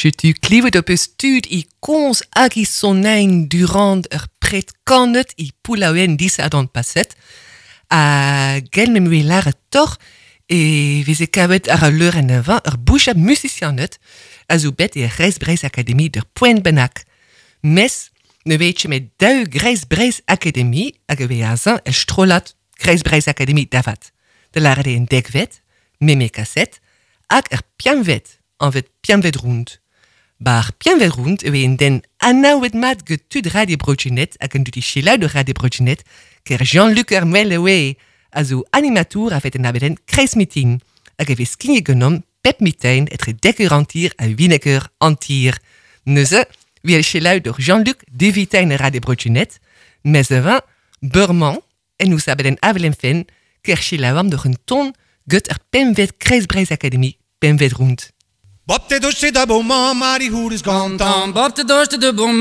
Setu klevet ho peus tud i komz hag i sonein durant ur pred kanet i Poullaouen disadorn paset. Ha gell me 'm lâret doc'h e veze kavet àr al leurenn avañ ur bouchad musisianed a zo bet e Kreiz Breizh Akademi d'ur poent bennak. Mes ne vez ket met daou Greiz Breizh Akademi hag e vez azañ ur strollad Kreiz Breizh Akademi da vat. Da lâret eo en dekvet, meme kaset, hag er piamvet, anvet piamvet round. Bar piamvet round e vez un den anaouet mat get tud Radio Bro-Gwened hag an dud i selaou de Radio Bro-Gwened ker Jean-Luc ar Mel oe a zo animatour a-fet en abadenn Kreiz Mitin hag e vez skignet ganeomp pep mitin etre dek eur hanter ha winnek eur hanter. Neuze, vi selaou doc'h Jean-Luc devitein Radio Bro-Gwened, mes avañ, beurmañ, en nous abadenn Avel em fenn, ker selaouamp doc'h un ton get ar pemvet Kreiz Breizh Akademi, pemvet round. Bop te doste da bon Mari hourez gantan. Bop te doste de bon.